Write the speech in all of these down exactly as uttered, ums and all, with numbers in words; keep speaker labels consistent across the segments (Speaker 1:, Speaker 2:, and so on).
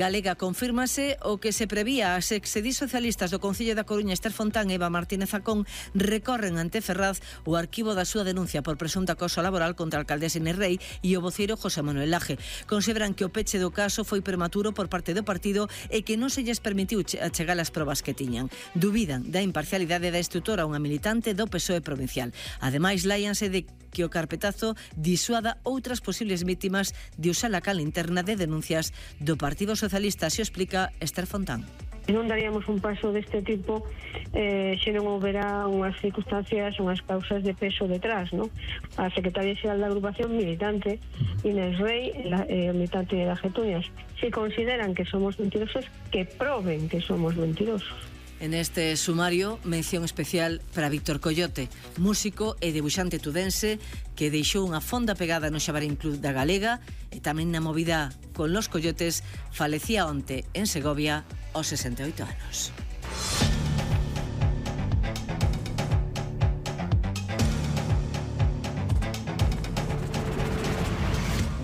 Speaker 1: Galega confírmase o que se prevía. As exedis socialistas do Concello da Coruña, Ester Fontán e Eva Martínez Acón, recorren ante Ferraz o arquivo da súa denuncia por presunto acoso laboral contra a alcaldesa Inés Rei e o voceiro José Manuel Laje. Consideran que o peche do caso foi prematuro por parte do partido e que non se lles permitiu achegar as probas que tiñan. Dubidan da imparcialidade da instructora, unha militante do P S O E provincial. Ademais, láianse de que o carpetazo disuada outras posibles vítimas de usar a cal interna de denuncias do Partido Socialista, se explica Ester Fontán.
Speaker 2: Non daríamos un paso deste tipo eh, se non houbera unhas circunstancias, unhas causas de peso detrás, ¿no? A secretaria xeral da agrupación militante, Inés Rei, la, eh, militante de las Getuñas, se consideran que somos mentirosos, que proben que somos mentirosos.
Speaker 1: En este sumario, mención especial para Víctor Coyote, músico e debuxante tudense que deixou unha fonda pegada no Xabarín Club da Galega e tamén na movida con los Coyotes. Falecía onte en Segovia aos sesenta e oito anos.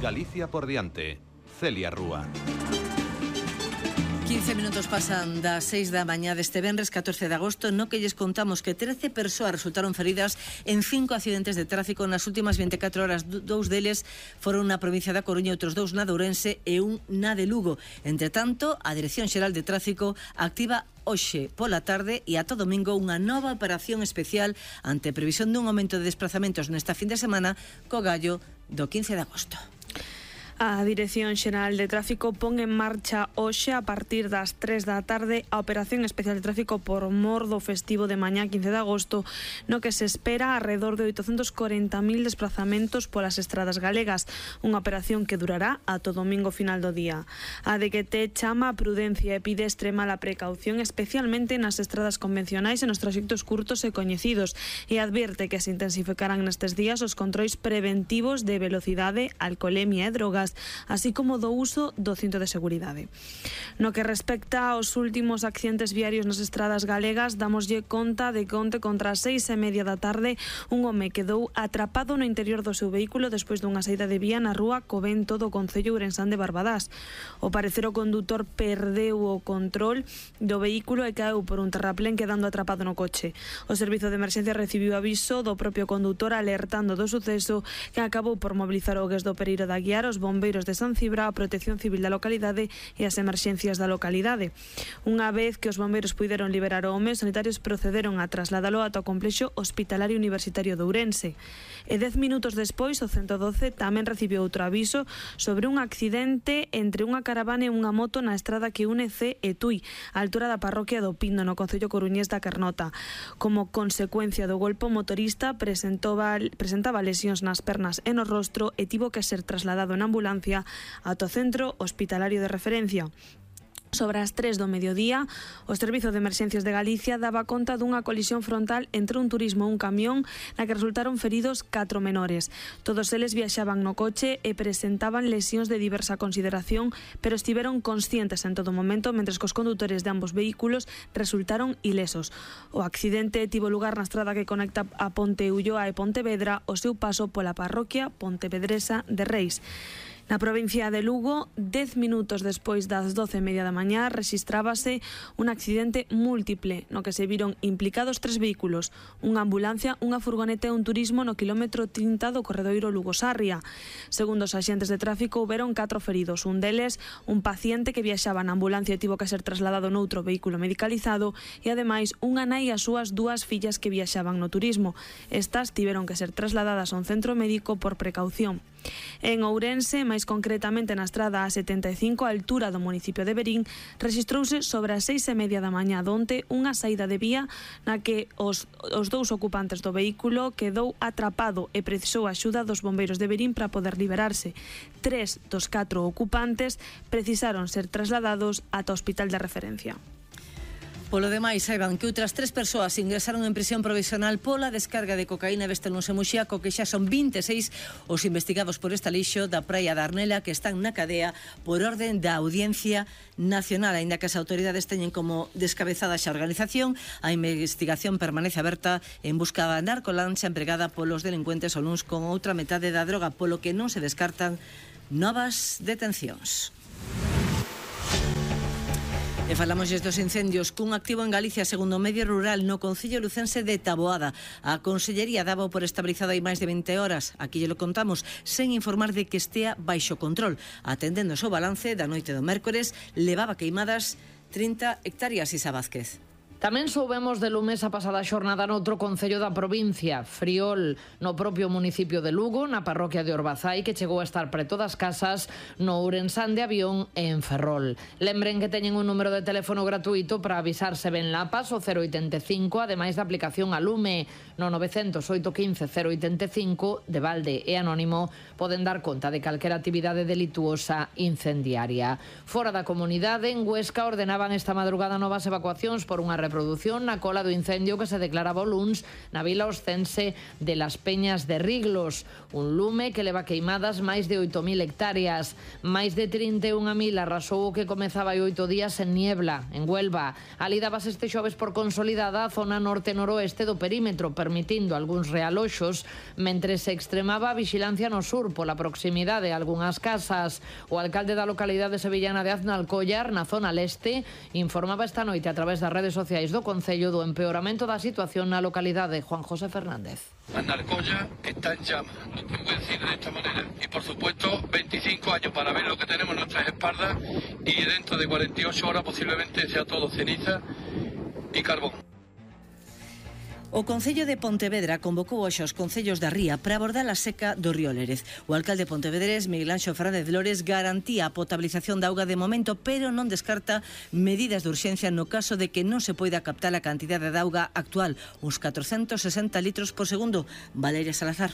Speaker 3: Galicia por diante. Celia Rúa.
Speaker 1: quince minutos pasan das seis da mañá deste venres catorce de agosto, no que lles contamos que trece persoas resultaron feridas en cinco accidentes de tráfico nas últimas vinte e catro horas. Dous deles foron na provincia da Coruña, outros dous na de Ourense e un na de Lugo. Entre tanto, a Dirección Xeral de Tráfico activa hoxe pola tarde e ata domingo unha nova operación especial ante previsión dun aumento de desplazamentos nesta fin de semana co gallo do quince de agosto.
Speaker 4: A Dirección Xeral de Tráfico pon en marcha hoxe a partir das tres da tarde a Operación Especial de Tráfico por mor do festivo de mañá quince de agosto, no que se espera alrededor de oitocentos corenta mil desplazamentos polas estradas galegas, unha operación que durará ata o domingo final do día. A D G T chama a prudencia e pide extrema a precaución, especialmente nas estradas convencionais e nos traxectos curtos e coñecidos, e advierte que se intensificarán nestes días os controis preventivos de velocidade, alcolemia e drogas, así como do uso do cinto de seguridade. No que respecta aos últimos accidentes viarios nas estradas galegas, damoslle conta de que onte contra as seis e media da tarde un home quedou atrapado no interior do seu vehículo despois dunha saída de vía na rúa Covento do concello ourensán de Barbadás. O parecer o condutor perdeu o control do vehículo e caeu por un terraplén quedando atrapado no coche. O servizo de emerxencia recibiu aviso do propio condutor alertando do suceso, que acabou por mobilizar o Gues do Pereiro da Guiar, os bombeiros de San Cibra, a Protección Civil da localidade e as emerxencias da localidade. Unha vez que os bombeiros puideron liberar o home, os sanitarios procederon a trasladalo ata o complexo hospitalario universitario de Ourense. E dez minutos despois, o ciento doce tamén recibiu outro aviso sobre un accidente entre unha caravana e unha moto na estrada que une C e Tui, á altura da parroquia do Pindo, no concello coruñés da Carnota. Como consecuencia do golpe, o motorista presentaba, presentaba lesións nas pernas e no rostro e tivo que ser trasladado en ambulancia ata o centro hospitalario de referencia. Sobre as tres do mediodía, o Servizo de Emerxencias de Galicia daba conta dunha colisión frontal entre un turismo e un camión na que resultaron feridos catro menores. Todos eles viaxaban no coche e presentaban lesións de diversa consideración, pero estiveron conscientes en todo momento, mentres que os condutores de ambos vehículos resultaron ilesos. O accidente tivo lugar na estrada que conecta a Ponte Ulloa e Pontevedra, o seu paso pola parroquia pontevedresa de Reis. Na provincia de Lugo, dez minutos despois das doce e media da mañá, rexistrábase un accidente múltiple no que se viron implicados tres vehículos, unha ambulancia, unha furgoneta e un turismo no quilómetro trinta do corredoiro Lugo-Sarria. Segundo os axentes de tráfico, houberon catro feridos, un deles un paciente que viaxaba na ambulancia e tivo que ser trasladado noutro vehículo medicalizado e ademais unha nai e as súas dúas fillas que viaxaban no turismo. Estas tiveron que ser trasladadas a un centro médico por precaución. En Ourense, máis concretamente na estrada A setenta e cinco, a altura do municipio de Verín, rexistrouse sobre as seis e media da mañá donte unha saída de vía na que os, os dous ocupantes do vehículo quedou atrapado e precisou a axuda dos bombeiros de Verín para poder liberarse. Tres dos catro ocupantes precisaron ser trasladados ata o hospital de referencia.
Speaker 1: Polo demais, saiban que outras tres persoas ingresaron en prisión provisional pola descarga de cocaína e Vestelúns e Muxiaco, que xa son vinte e seis os investigados por esta lixo da praia da Arnela que están na cadea por orden da Audiencia Nacional. Aínda que as autoridades teñen como descabezada xa a organización, a investigación permanece aberta en busca da narcolancha empregada polos delincuentes o luns con outra metade da droga, polo que non se descartan novas detencións. E falamos destos incendios cun activo en Galicia segundo o medio rural no concello lucense de Taboada. A Consellería daba por estabilizado hai máis de vinte horas. Aquí lle lo contamos sen informar de que estea baixo control. Atendendo o seu balance da noite do mércores, levaba queimadas trinta hectáreas. Isa Vázquez.
Speaker 5: Tamén soubemos de lumes a pasada xornada noutro concello da provincia, Friol, no propio municipio de Lugo, na parroquia de Orbazai, que chegou a estar preto das casas, no Ourensán de Avión e en Ferrol. Lembren que teñen un número de teléfono gratuito para avisarse ben lapas, o cero oitenta e cinco, ademais da aplicación a Lume, no nove cero oito quince cero oitenta e cinco, de balde e anónimo, poden dar conta de calquera actividade delituosa incendiaria. Fora da comunidade, en Huesca, ordenaban esta madrugada novas evacuacións por unha reproducción na cola do incendio que se declaraba o luns na vila oscense de Las Peñas de Riglos, un lume que leva queimadas máis de oito mil hectáreas. Máis de trinta e unha mil arrasou o que comezaba hai oito días en Niebla, en Huelva. Ali dabas este xoves por consolidada a zona norte-noroeste do perímetro, permitindo algúns realoxos, mentre se extremaba a vixilancia no sur pola proximidade a algunhas casas. O alcalde da localidade sevillana de Aznalcóllar, na zona leste, informaba esta noite a través das redes sociais do Concello do empeoramento da situación na localidade. Juan José Fernández.
Speaker 6: Aznalcóllar está en llamas, lo tengo que decir de esta manera. Y por supuesto, veinticinco años para ver lo que tenemos en nuestras espaldas y dentro de cuarenta y ocho horas posiblemente sea todo ceniza y carbón.
Speaker 1: O Concello de Pontevedra convocou hoxe os concellos da Ría para abordar a seca do río Lérez. O alcalde pontevedrés, Miguel Anxo Fernández Lores, garantía a potabilización da auga de momento, pero non descarta medidas de urxencia no caso de que non se poida captar a cantidade de auga actual, uns catrocentos sesenta litros por segundo. Valeria Salazar.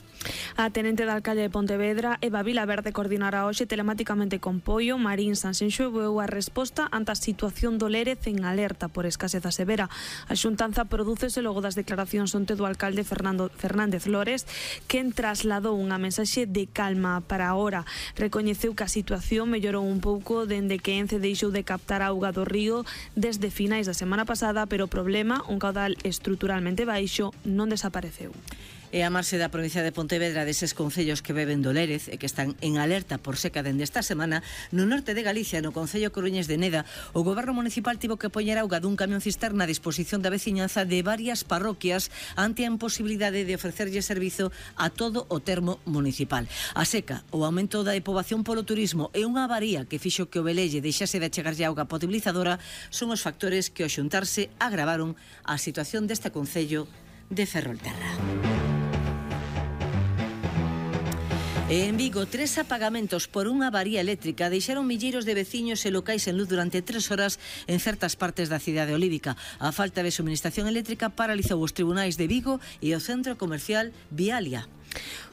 Speaker 4: A tenente da alcalde de Pontevedra, Eva Vilaverde, coordinará hoxe telemáticamente con Poio Marín Sanxenxo a resposta ante a situación do Lérez en alerta por escaseza severa. A xuntanza prodúcese logo das declaracións onte do alcalde Fernando Fernández Lores, quen trasladou unha mensaxe de calma para a hora. Recoñeceu que a situación mellorou un pouco dende que Ence deixou de captar auga do río desde finais da semana pasada, pero o problema, un caudal estruturalmente baixo, non desapareceu.
Speaker 1: E a marxe da provincia de Pontevedra deses concellos que beben do Lérez e que están en alerta por seca dende esta semana, no norte de Galicia, no concello coruñés de Neda, o goberno municipal tivo que poñer auga dun camión cisterna a disposición da veciñanza de varias parroquias ante a imposibilidade de ofrecerlle servizo a todo o termo municipal. A seca, o aumento da poboación polo turismo e unha avaría que fixo que o Velelle deixase de achegarlle auga potabilizadora son os factores que ao xuntarse agravaron a situación deste concello de Ferrolterra. E en Vigo, tres apagamentos por unha avaría eléctrica deixaron milleiros de veciños e locais en luz durante tres horas en certas partes da cidade olívica. A falta de suministración eléctrica paralizou os tribunais de Vigo e o centro comercial Vialia.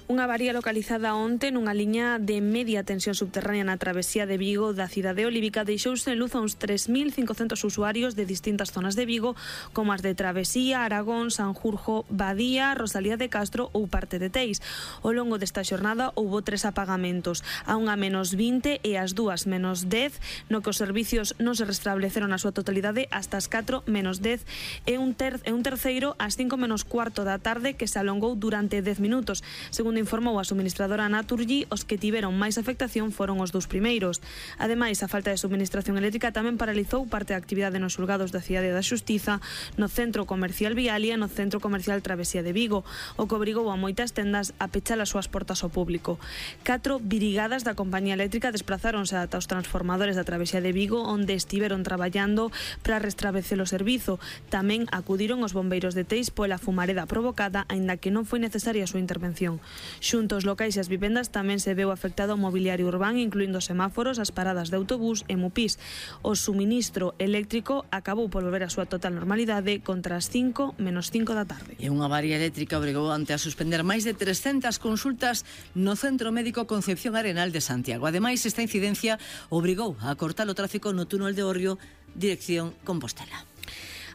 Speaker 4: Unha avaría localizada onte nunha liña de media tensión subterránea na travesía de Vigo da cidade olívica deixouse en luz a uns tres mil cincocentos usuarios de distintas zonas de Vigo, como as de Travesía, Aragón, Sanjurjo, Badía, Rosalía de Castro ou parte de Teis. Ao longo desta xornada houbo tres apagamentos, a unha menos vinte e as dúas menos dez, no que os servicios non se restableceron na súa totalidade hasta as catro menos dez e un, ter e un terceiro ás cinco menos cuarto da tarde que se alongou durante dez minutos. Segundo informou a suministradora Naturgy, os que tiveron máis afectación foron os dous primeiros. Ademais, a falta de suministración eléctrica tamén paralizou parte da actividade nos xulgados da Cidade da Xustiza, no centro comercial Vialia e no centro comercial Travesía de Vigo, o que obrigou a moitas tendas a pechar as súas portas ao público. Catro brigadas da compañía eléctrica desplazáronse ata os transformadores da Travesía de Vigo, onde estiveron traballando para restablecer o servizo. Tamén acudiron os bombeiros de Teis pola fumareda provocada, aínda que non foi necesaria a súa intervención. Xunto aos locais e as vivendas tamén se veu afectado o mobiliario urbán, incluindo semáforos, as paradas de autobús e mupís. O suministro eléctrico acabou por volver a súa total normalidade contra as cinco menos cinco da tarde.
Speaker 1: E unha avaría eléctrica obrigou ante a suspender máis de trescentas consultas no Centro Médico Concepción Arenal de Santiago. Ademais, esta incidencia obrigou a cortar o tráfico no túnel de Orrio, dirección Compostela.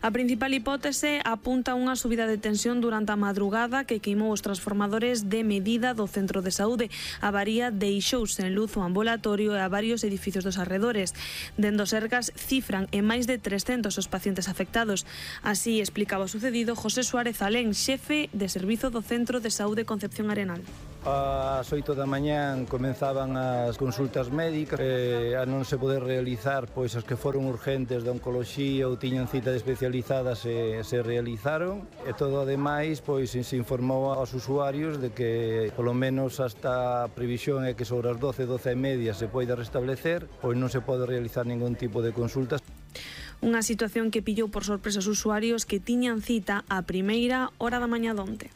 Speaker 4: A principal hipótese apunta a unha subida de tensión durante a madrugada que queimou os transformadores de medida do centro de saúde. A avaría deixouse en luz o ambulatorio e a varios edificios dos arredores. Dende os Sergas cifran en máis de trescentos os pacientes afectados. Así explicaba o sucedido José Suárez Alén, xefe de servizo do Centro de Saúde Concepción Arenal.
Speaker 7: Ás oito da mañán comenzaban as consultas médicas, e a non se poder realizar, pois as que foron urgentes de oncoloxía ou tiñan citas especializadas se, se realizaron, e todo ademais pois se informou aos usuarios de que polo menos hasta a previsión é que sobre as doce, doce e media se poida restablecer, pois non se pode realizar ningún tipo de consultas.
Speaker 4: Unha situación que pillou por sorpresa os usuarios que tiñan cita a primeira hora da mañá donte.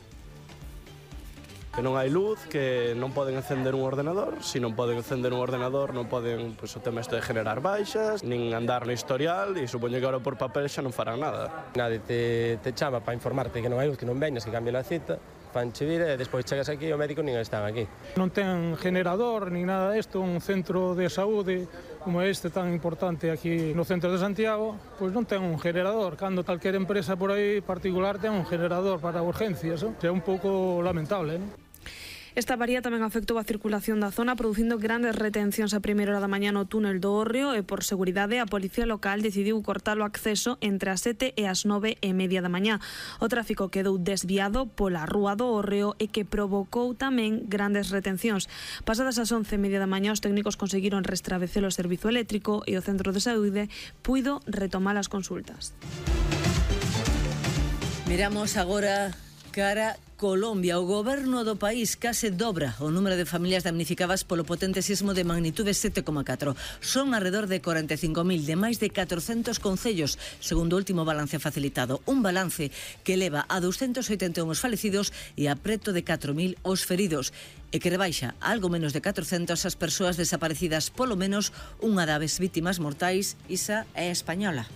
Speaker 8: Que non hai luz, que non poden encender un ordenador. Se non poden encender un ordenador non poden, pois, o tema isto de generar baixas, nin andar no historial, e supoño que agora por papel xa non farán nada.
Speaker 9: Nadie te, te chama para informarte que non hai luz, que non veñas, que cambien a cita, fanche vir e despois chegas aquí e o médico nin están aquí.
Speaker 10: Non ten generador nin nada disto, un centro de saúde como este tan importante aquí no centro de Santiago, pois non ten un generador, cando calquera empresa por aí particular ten un generador para urgencias, non? É un pouco lamentable, non?
Speaker 4: Esta avaría tamén afectou a circulación da zona, producindo grandes retencións a primeira hora da mañá no túnel do Hórreo, e por seguridade a Policía Local decidiu cortar o acceso entre as sete e as nove e media da mañá. O tráfico quedou desviado pola rúa do Hórreo e que provocou tamén grandes retencións. Pasadas as once e media da mañá, os técnicos conseguiron restablecer o servizo eléctrico e o centro de saúde puido retomar as consultas.
Speaker 1: Miramos agora cara Colombia. O goberno do país case dobra o número de familias damnificadas polo potente sismo de magnitude sete coma catro. Son alrededor de cuarenta e cinco mil de máis de catrocentos concellos, segundo o último balance facilitado. Un balance que eleva a doscientos oitenta e un os falecidos e a preto de catro mil os feridos, e que rebaixa a algo menos de catrocentas as persoas desaparecidas, polo menos unha das vítimas mortais, Isa, é española.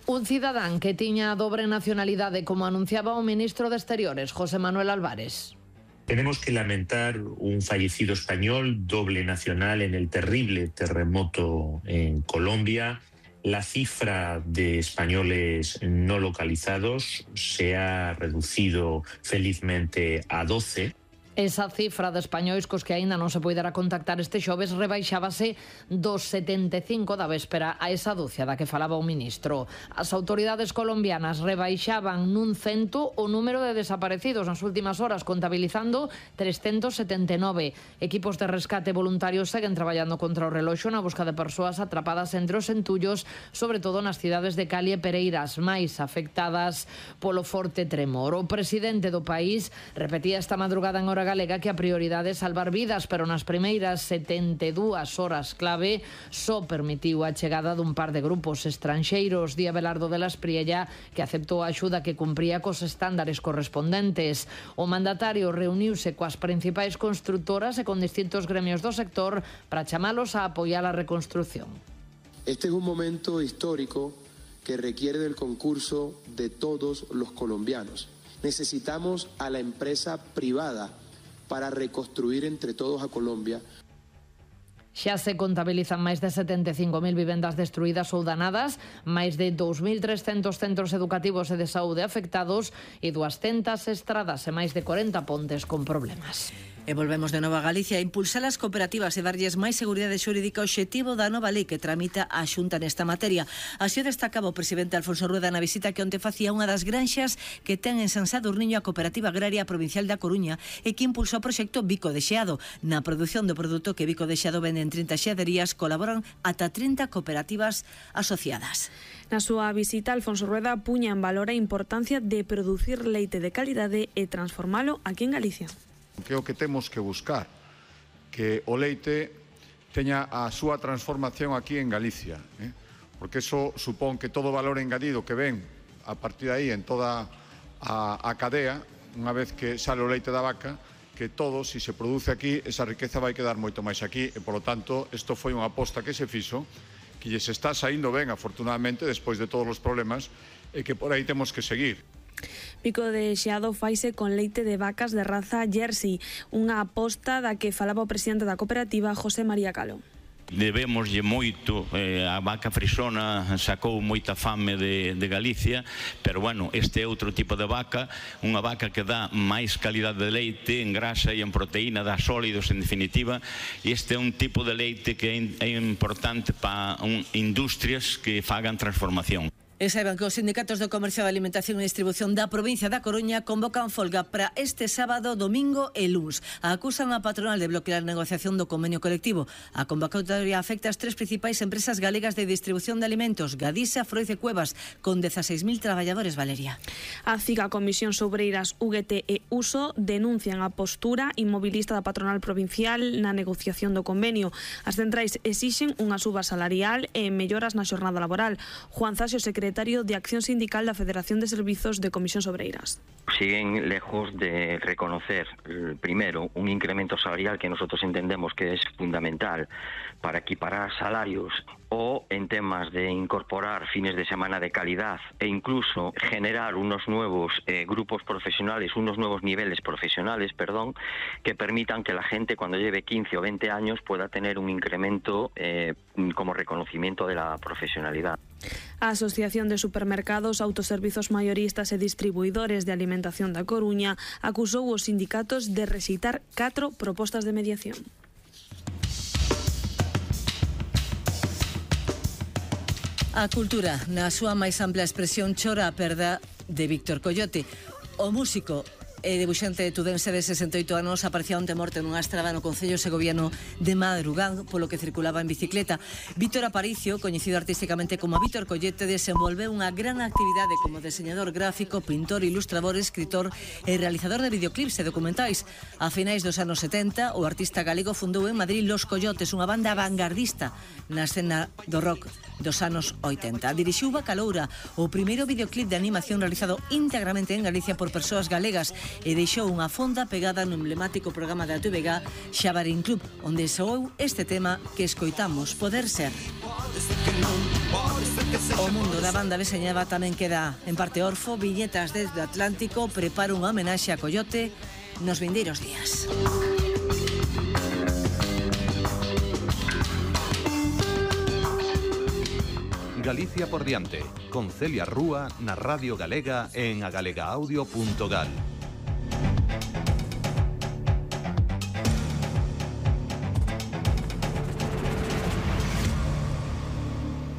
Speaker 5: Un cidadán que tiña dobre nacionalidade, como anunciaba o ministro de Exteriores, José Manuel Álvarez.
Speaker 11: Tenemos que lamentar un fallecido español, doble nacional, en el terrible terremoto en Colombia. La cifra de españoles no localizados se ha reducido felizmente a doce.
Speaker 5: Esa cifra de españois cos que aínda non se poidera contactar este xoves rebaixábase dos setenta e cinco da véspera a esa dúcia da que falaba o ministro. As autoridades colombianas rebaixaban nun cento o número de desaparecidos nas últimas horas, contabilizando trescentos setenta e nove. Equipos de rescate voluntarios seguen traballando contra o reloxo na busca de persoas atrapadas entre os entullos, sobre todo nas cidades de Cali e Pereira, as máis afectadas polo forte tremor. O presidente do país repetía esta madrugada en hora galega que a prioridade é salvar vidas, pero nas primeiras setenta e dúas horas clave só permitiu a chegada dun par de grupos estranxeiros. Di Abelardo de la Espriella que aceptou a axuda que cumpría cos estándares correspondentes. O mandatario reuniuse coas principais constructoras e con distintos gremios do sector para chamalos a apoiar a reconstrucción.
Speaker 12: Este es un momento histórico que requiere del concurso de todos los colombianos. Necesitamos a la empresa privada para reconstruir entre todos a Colombia.
Speaker 5: Xa se contabilizan máis de setenta e cinco mil vivendas destruídas ou danadas, máis de dous mil trescentos centros educativos e de saúde afectados e duascentas estradas e máis de corenta pontes con problemas.
Speaker 1: E volvemos de novo a Galicia a impulsar as cooperativas e darlles máis seguridade xurídica, obxectivo da nova lei que tramita a Xunta nesta materia. Así o destacaba o presidente Alfonso Rueda na visita que onte facía unha das granxas que ten en San Sadurniño a Cooperativa Agraria Provincial da Coruña e que impulsou o proxecto Bico de Xeado. Na produción do produto que Bico de Xeado vende en trinta xeaderías colaboran ata trinta cooperativas asociadas.
Speaker 4: Na súa visita, Alfonso Rueda puña en valor a importancia de producir leite de calidade e transformalo aquí en Galicia.
Speaker 13: Que é o que temos que buscar, que o leite teña a súa transformación aquí en Galicia, eh? porque eso supón que todo o valor engadido que ven a partir de aí en toda a, a cadea, unha vez que sale o leite da vaca, que todo, se se produce aquí, esa riqueza vai quedar moito máis aquí, e polo tanto, isto foi unha aposta que se fixo, que lles está saindo ben, afortunadamente, despois de todos os problemas, e que por aí temos que seguir.
Speaker 4: Bico de Xeado faise con leite de vacas de raza Jersey, unha aposta da que falaba o presidente da cooperativa, José María Calo.
Speaker 14: Debémoslle moito, eh, a vaca frisona sacou moita fame de, de Galicia, pero bueno, este é outro tipo de vaca, unha vaca que dá máis calidade de leite en grasa e en proteína, dá sólidos en definitiva, e este é un tipo de leite que é, é importante para un, industrias que fagan transformación.
Speaker 1: E saiban que os sindicatos do Comercio de Alimentación e Distribución da provincia da Coruña convocan folga para este sábado, domingo e luns. Acusan a patronal de bloquear a negociación do convenio colectivo. A convocatoria afecta as tres principais empresas galegas de distribución de alimentos, Gadisa, Froiz e Cuevas, con dezaseis mil traballadores, Valeria.
Speaker 4: A CIGA, Comisións Obreiras, U G T e Uso denuncian a postura inmobilista da patronal provincial na negociación do convenio. As centrais exixen unha suba salarial e melloras na xornada laboral. Juan Zasio, secretario secretario de Acción Sindical da Federación de Servizos de Comisións Obreiras.
Speaker 15: Siguen lejos de reconocer, primero, un incremento salarial que nosotros entendemos que es fundamental para equiparar salarios o en temas de incorporar fines de semana de calidad e incluso generar unos nuevos eh, grupos profesionales, unos nuevos niveles profesionales, perdón, que permitan que la gente cuando lleve quince o veinte años pueda tener un incremento eh, como reconocimiento de la profesionalidad.
Speaker 4: A Asociación de Supermercados, Autoservizos Mayoristas e Distribuidores de Alimentación da Coruña acusou os sindicatos de rexeitar catro propostas de mediación.
Speaker 1: A cultura, na súa máis ampla expresión, chora a perda de Víctor Coyote. O músico e debuxante tudense de sesenta e oito anos aparecía onte morte nunha estrada no concello segoviano de Madrugán, polo que circulaba en bicicleta. Víctor Aparicio, coñecido artísticamente como Víctor Coyote, desenvolveu unha gran actividade como deseñador gráfico, pintor, ilustrador, escritor e realizador de videoclips e documentais. A finais dos anos setenta, o artista galego fundou en Madrid Los Coyotes, unha banda vanguardista na escena do rock dos anos oitenta. Dirixiu Bacaloura, o primeiro videoclip de animación realizado íntegramente en Galicia por persoas galegas, e deixou unha fonda pegada no emblemático programa da T V G Xabarín Club, onde soou este tema que escoitamos, Poder Ser. O mundo da banda deseñaba tamén queda en parte orfo. Viñetas desde o Atlántico prepara unha homenaxe a Coyote nos vindeiros días.
Speaker 3: Galicia por diante, con Celia Rúa na Radio Galega en agalegaudio punto gal.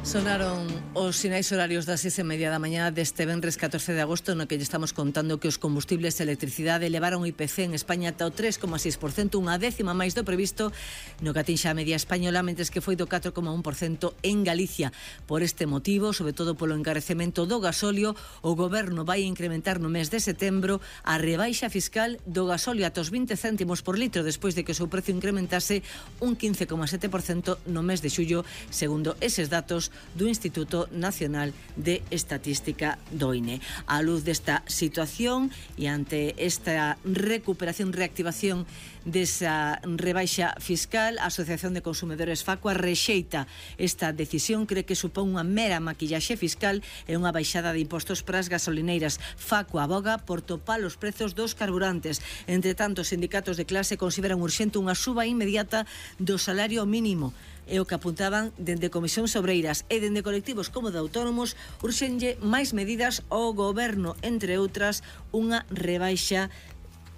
Speaker 1: Sonaron os sinais horarios das seis e media da mañá deste venres catorce de agosto, no que lle estamos contando que os combustibles e electricidade elevaron o I P C en España ata o tres coma seis por cento, unha décima máis do previsto no que atinxa a media española, mentres que foi do catro coma un por cento en Galicia. Por este motivo, sobre todo polo encarecemento do gasóleo, o goberno vai incrementar no mes de setembro a rebaixa fiscal do gasóleo ata os vinte céntimos por litro, despois de que o seu precio incrementase un quince coma sete por cento no mes de xullo, segundo eses datos do Instituto Nacional de Estatística do I N E. A luz desta situación e ante esta recuperación, reactivación desa rebaixa fiscal, a Asociación de Consumidores Facua rexeita esta decisión, cree que supón unha mera maquillaxe fiscal e unha baixada de impostos para as gasolineiras. Facua aboga por topar os prezos dos carburantes. Entre tanto, os sindicatos de clase consideran urxente unha suba inmediata do salario mínimo. É o que apuntaban dende Comisións Obreiras e dende colectivos como de autónomos, urxenlle máis medidas ao goberno, entre outras, unha rebaixa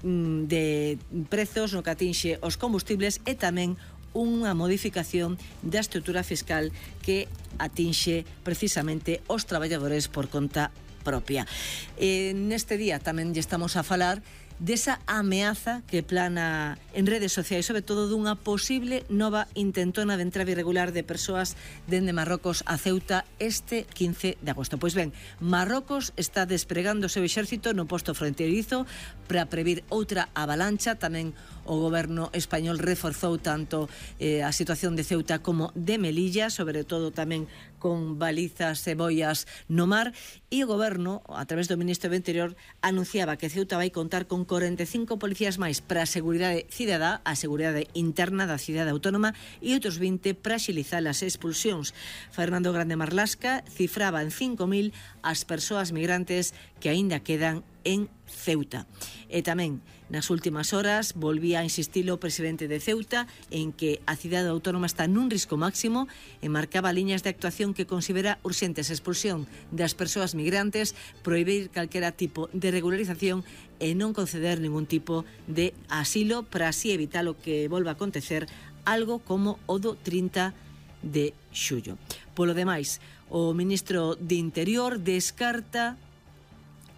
Speaker 1: mm, de prezos no que atinxe os combustibles e tamén unha modificación da estrutura fiscal que atinxe precisamente os traballadores por conta propia. E neste día tamén lle estamos a falar desa ameaza que plana en redes sociais, sobre todo dunha posible nova intentona de entrada irregular de persoas dende Marrocos a Ceuta este quince de agosto. Pois ben, Marrocos está despregando o seu exército no posto fronteirizo para previr outra avalancha. Tamén o goberno español reforzou tanto eh, a situación de Ceuta como de Melilla, sobre todo tamén con balizas e boias no mar, e o goberno, a través do ministro do Interior, anunciaba que Ceuta vai contar con corenta e cinco policías máis para a seguridade cidadá, a seguridade interna da cidade autónoma, e outros vinte para axilizar as expulsións. Fernando Grande Marlasca cifraba en cinco mil as persoas migrantes que aínda quedan en Ceuta. E tamén, nas últimas horas, volvía a insistir o presidente de Ceuta en que a cidade autónoma está nun risco máximo e marcaba liñas de actuación que considera urxentes: expulsión das persoas migrantes, prohibir calquera tipo de regularización e non conceder ningún tipo de asilo, para así evitar o que volva a acontecer algo como o do trinta de xullo. Polo demais, O ministro de Interior descarta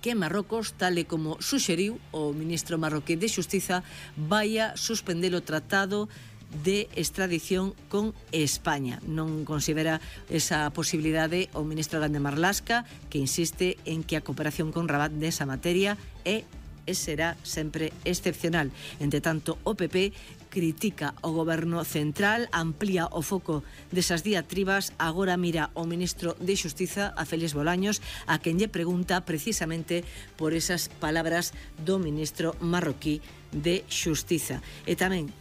Speaker 1: que Marrocos, tal e como suxeriu o ministro marroquí de Xustiza, vai a suspender o tratado de extradición con España. Non considera esa posibilidade o ministro Grande Marlaska, que insiste en que a cooperación con Rabat desa materia é e será sempre excepcional. Entre tanto, o P P critica o goberno central, amplía o foco desas diatribas, agora mira o ministro de Xustiza, a Félix Bolaños, a quen lle pregunta precisamente por esas palabras do ministro marroquí de Xustiza. E tamén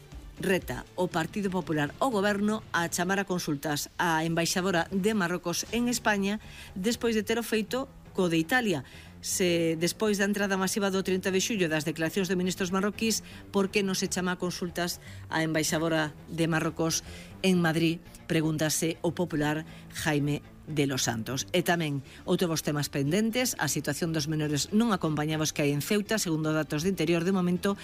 Speaker 1: reta o Partido Popular o goberno a chamar a consultas á embaixadora de Marrocos en España despois de ter o feito co de Italia. Se despois da entrada masiva do trinta de xullo das declaracións de ministros marroquís, por que non se chama a consultas á embaixadora de Marrocos en Madrid, pregúntase o popular Jaime de los Santos. E tamén outros temas pendentes, a situación dos menores non acompañados que hai en Ceuta, segundo datos de Interior, de momento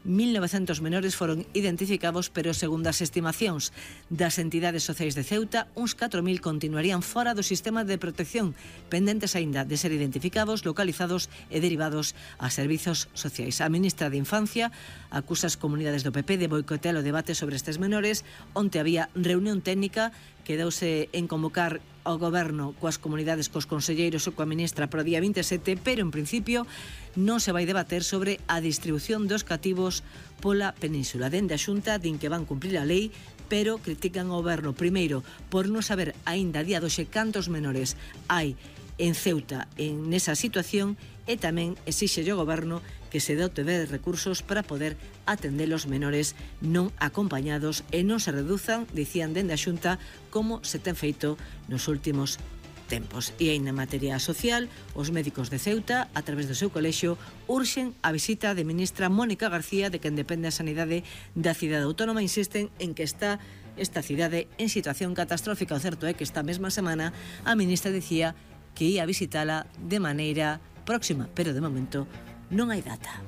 Speaker 1: mil novecentos menores foron identificados, pero segundo as estimacións das entidades sociais de Ceuta, uns catro mil continuarían fora do sistema de protección, pendentes aínda de ser identificados, localizados e derivados a servizos sociais. A ministra de Infancia acusa as comunidades do P P de boicotear o debate sobre estes menores, onde había reunión técnica que deuse en convocar ao goberno coas comunidades, cos conselleiros ou coa ministra para o día vinte e sete, pero en principio non se vai debater sobre a distribución dos cativos pola península. Dende a Xunta din que van cumprir a lei, pero critican ao goberno primeiro por non saber aínda a día doxe cantos menores hai en Ceuta en esa situación, e tamén exixe ao goberno que se dote de recursos para poder atender os menores non acompañados e non se reduzan, dicían dende a Xunta, como se ten feito nos últimos tempos. E aí na materia social, os médicos de Ceuta, a través do seu colexio, urxen a visita de ministra Mónica García, de quen depende a sanidade da cidade autónoma. Insisten en que está esta cidade en situación catastrófica. O certo é que esta mesma semana a ministra dicía que ia visitala de maneira próxima, pero de momento non hai data.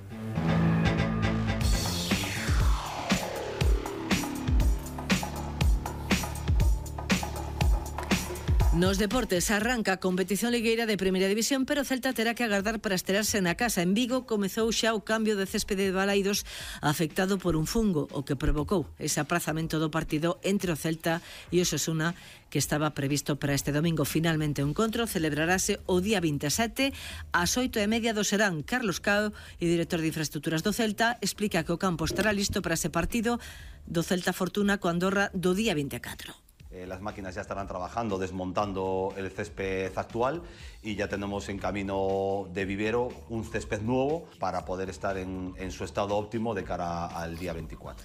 Speaker 1: Nos deportes arranca a competición ligueira de Primeira División, pero o Celta terá que agardar para estrearse na casa. En Vigo comezou xa o cambio de céspede de Balaidos afectado por un fungo, o que provocou ese aprazamento do partido entre o Celta e o Osasuna, que estaba previsto para este domingo. Finalmente o encontro celebrarase o día vinte e sete ás oito e media do Serán. Carlos Cao, e director de infraestructuras do Celta, explica que o campo estará listo para ese partido do Celta Fortuna co Andorra do día vinte e catro.
Speaker 16: Eh, las máquinas ya estarán trabajando, desmontando el césped actual, y ya tenemos en camino de vivero un césped nuevo para poder estar en, en su estado óptimo de cara al día veinticuatro.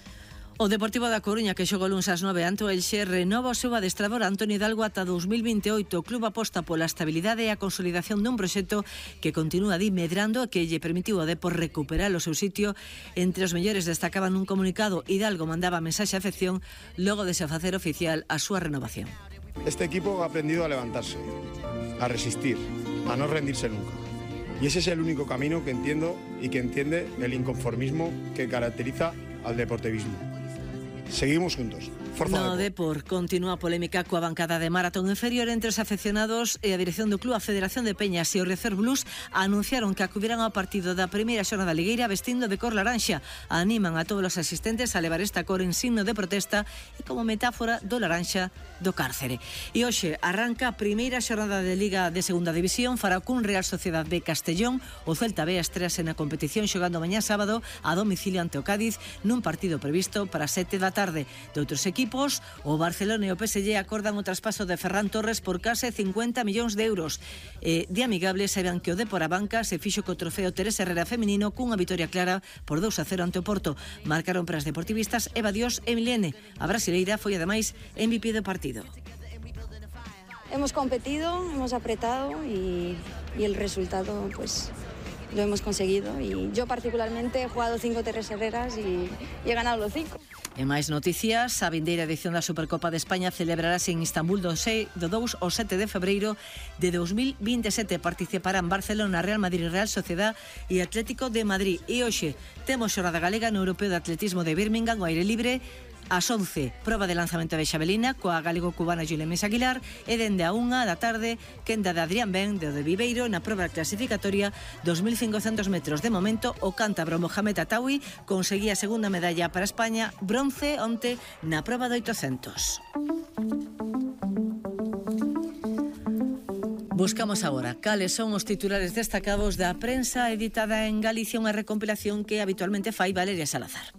Speaker 1: O Deportivo da Coruña, que xogou luns ás nove ante o Elxe, renova o seu adestrador Antonio Hidalgo ata dos mil vinte e oito. O club aposta pola estabilidade e a consolidación dun proxecto que continúa di medrando e que lle permitiu ao Depor recuperar o seu sitio entre os mellores. Destacaban nun comunicado, Hidalgo mandaba mensaxe a afección logo de se facer oficial a súa renovación.
Speaker 17: Este equipo ha aprendido a levantarse, a resistir, a no rendirse nunca. Y ese es el único camino que entiendo y que entiende el inconformismo que caracteriza al deportivismo. Seguimos juntos. Forza
Speaker 1: no
Speaker 17: Depor.
Speaker 1: Depor continúa a polémica coa bancada de maratón inferior entre os afeccionados e a dirección do club. A Federación de Peñas e o Recer Blues anunciaron que acudirán ao partido da primeira xornada ligueira vestindo de cor laranxa. Animan a todos os asistentes a levar esta cor en signo de protesta e como metáfora do laranxa do cárcere. E hoxe arranca a primeira xornada de Liga de Segunda División. Fará cun Real Sociedad B Castellón. O Celta B estrease na competición xogando mañá sábado a domicilio ante o Cádiz nun partido previsto para sete da tarde. De outros equipos, o Barcelona e o P S G acordan o traspaso de Ferran Torres por case cincuenta millóns de euros. Eh, de amigable, saben que o Depor a banca se fixo co trofeo Teresa Herrera feminino cunha vitoria clara por dous a cero ante o Porto. Marcaron para as deportivistas Eva Dios e Milene. A brasileira foi ademais M V P do partido.
Speaker 18: Hemos competido, hemos apretado y, y el resultado pues lo hemos conseguido. Y yo particularmente he jugado cinco Teresa Herreras y, y he ganado los cinco.
Speaker 1: E máis noticias, a vindeira edición da Supercopa de España celebrarase en Istambul do dous ao sete de febreiro de dos mil vinte e sete. Participarán Barcelona, Real Madrid, Real Sociedad e Atlético de Madrid. E hoxe temos xornada galega no Europeo de Atletismo de Birmingham, o aire libre, Ás once, proba de lanzamento de xavelina coa galego-cubana Julia Mesa Aguilar e dende a unha da tarde, quenda de Adrián Ben de o de Viveiro na proba clasificatoria dos mil cincocentos metros. De momento, o cántabro Mohamed Atawi conseguía a segunda medalla para España, bronce onte na proba de oitocentos. Buscamos agora cales son os titulares destacados da prensa editada en Galicia, unha recompilación que habitualmente fai Valeria Salazar.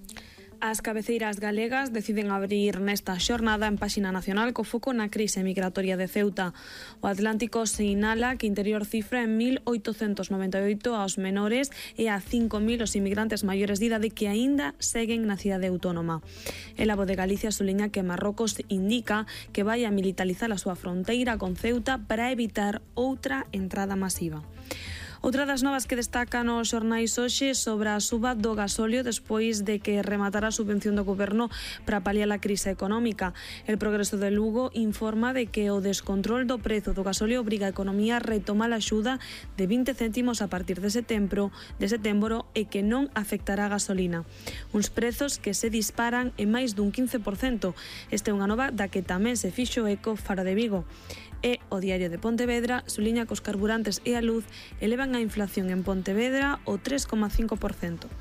Speaker 4: As cabeceiras galegas deciden abrir nesta xornada en páxina nacional co foco na crise migratoria de Ceuta. O Atlántico sinala que Interior cifra en mil oitocentos noventa e oito aos menores e a cinco mil os inmigrantes maiores de idade que aínda seguen na cidade autónoma. El Abo de Galicia suliña que Marrocos indica que vai a militarizar a súa fronteira con Ceuta para evitar outra entrada masiva. Outra das novas que destacan os xornais hoxe sobre a suba do gasóleo despois de que rematara a subvención do goberno para paliar a crise económica. El Progreso de Lugo informa de que o descontrol do prezo do gasóleo obriga a economía a retomar a axuda de vinte céntimos a partir de setembro, de setembro e que non afectará a gasolina. Uns prezos que se disparan en máis dun quince por cento. Esta é unha nova da que tamén se fixo eco Faro de Vigo. E o Diario de Pontevedra suliña que os carburantes e a luz elevan a inflación en Pontevedra o tres coma cinco por cento.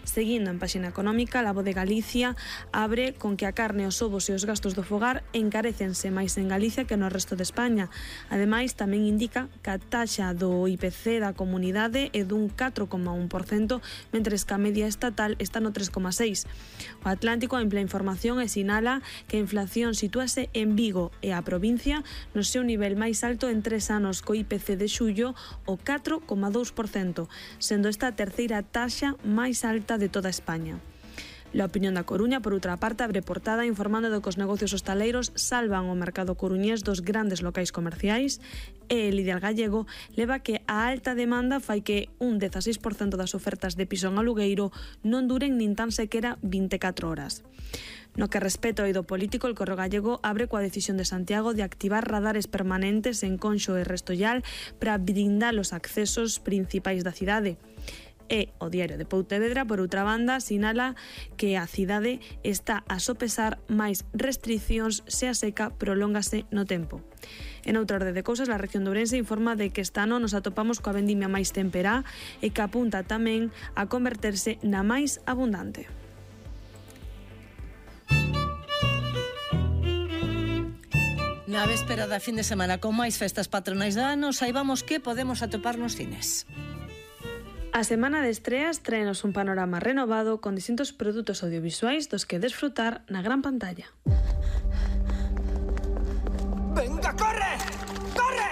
Speaker 4: Seguindo en páxina económica, a Voz de Galicia abre con que a carne, os ovos e os gastos do fogar encarécense máis en Galicia que no resto de España. Ademais, tamén indica que a taxa do I P C da comunidade é dun catro coma un por cento, mentres que a media estatal está no tres coma seis por cento. O Atlántico amplia información e sinala que a inflación sitúase en Vigo e a provincia no seu nivel máis alto en tres anos, co I P C de xullo o catro coma dous por cento, sendo esta a terceira taxa máis alta de toda España. La Opinión da Coruña, por outra parte, abre portada informando de que os negocios hostaleiros salvan o mercado coruñés dos grandes locais comerciais e el Ideal Gallego leva que a alta demanda fai que un dezasseis por cento das ofertas de piso en alugueiro non duren nin tan sequera vinte e catro horas. No que respecta ao eido político, el Correo Gallego abre coa decisión de Santiago de activar radares permanentes en Conxo e Restollal para blindar os accesos principais da cidade. E o Diario de Pontevedra, por outra banda, sinala que a cidade está a sopesar máis restricións se a seca prolóngase no tempo. En outra orde de cousas, a región de Ourense informa de que este ano nos atopamos coa vendimia máis temperá e que apunta tamén a converterse na máis abundante.
Speaker 1: Na véspera da fin de semana con máis festas patronais do ano, saibamos que podemos atopar nos cines.
Speaker 4: A semana de estreas traenos un panorama renovado con distintos produtos audiovisuais dos que desfrutar na gran pantalla.
Speaker 19: ¡Venga, corre! ¡Corre!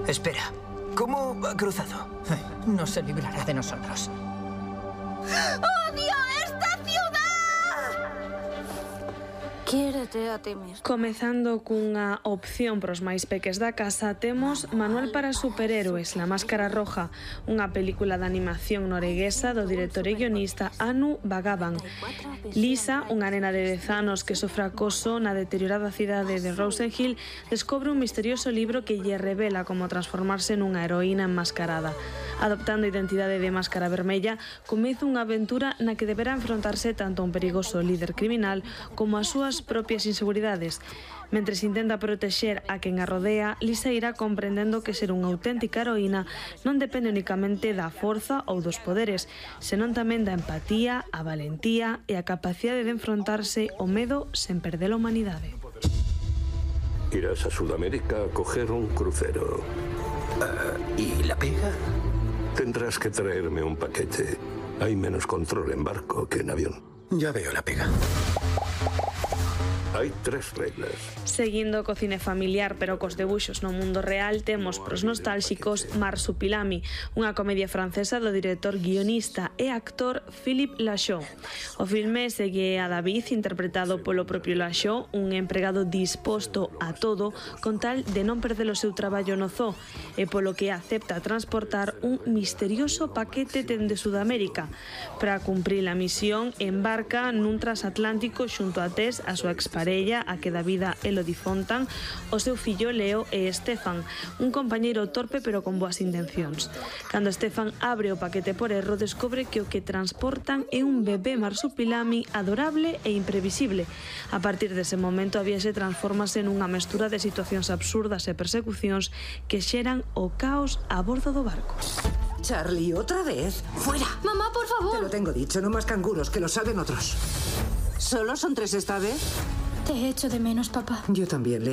Speaker 19: Espera, ¿cómo ha cruzado? No se librará de nosotros.
Speaker 20: ¡Odio esta ciudad! Quiérete a ti mismo.
Speaker 4: Comezando cunha opción pros máis peques da casa, temos Manual para superhéroes, La Máscara Roja, unha película de animación norueguesa do director e guionista Anu Bagaban. Lisa, unha nena de dez anos que sofre acoso na deteriorada cidade de Rosenhill, descobre un misterioso libro que lle revela como transformarse nunha heroína enmascarada. Adoptando a identidade de Máscara Vermella, comeza unha aventura na que deberá enfrontarse tanto a un perigoso líder criminal como as súas propias inseguridades. Mentres intenta protexer a quen a rodea, Lisa irá comprendendo que ser unha auténtica heroína non depende únicamente da forza ou dos poderes, senón tamén da empatía, a valentía e a capacidade de enfrontarse ao medo sen perder a humanidade.
Speaker 21: Irás a Sudamérica a coger un crucero.
Speaker 19: Uh, ¿Y la pega?
Speaker 21: Tendrás que traerme un paquete. Hay menos control en barco que en avión.
Speaker 19: Ya veo la pega.
Speaker 21: Hai tres reglas.
Speaker 4: Seguindo co cine familiar pero cos debuxos no mundo real, temos pros nostálxicos Marsupilami, unha comedia francesa do director, guionista e actor Philippe Lachaud. O filme segue a David, interpretado polo propio Lachaud, un empregado disposto a todo con tal de non perder o seu traballo no zoo, e polo que acepta transportar un misterioso paquete dende Sudamérica. Para cumprir a misión, embarca nun transatlántico xunto a Tess, a súa expareja, parella a que dá vida Elodie Fontan, o seu fillo Leo e Estefan, un compañeiro torpe pero con boas intencións. Cando Estefan abre o paquete por erro, descobre que o que transportan é un bebé marsupilami adorable e imprevisible. A partir dese momento a viaxe transformase nunha mestura de situacións absurdas e persecucións que xeran o caos a bordo do barco.
Speaker 2: Charlie, ¿otra vez? ¡Fuera!
Speaker 20: Mamá, por favor.
Speaker 2: Te lo tengo dicho, no más canguros, que lo salven otros. ¿Solo son tres esta vez?
Speaker 20: Te echo de menos, papá.
Speaker 2: Yo también, Leo.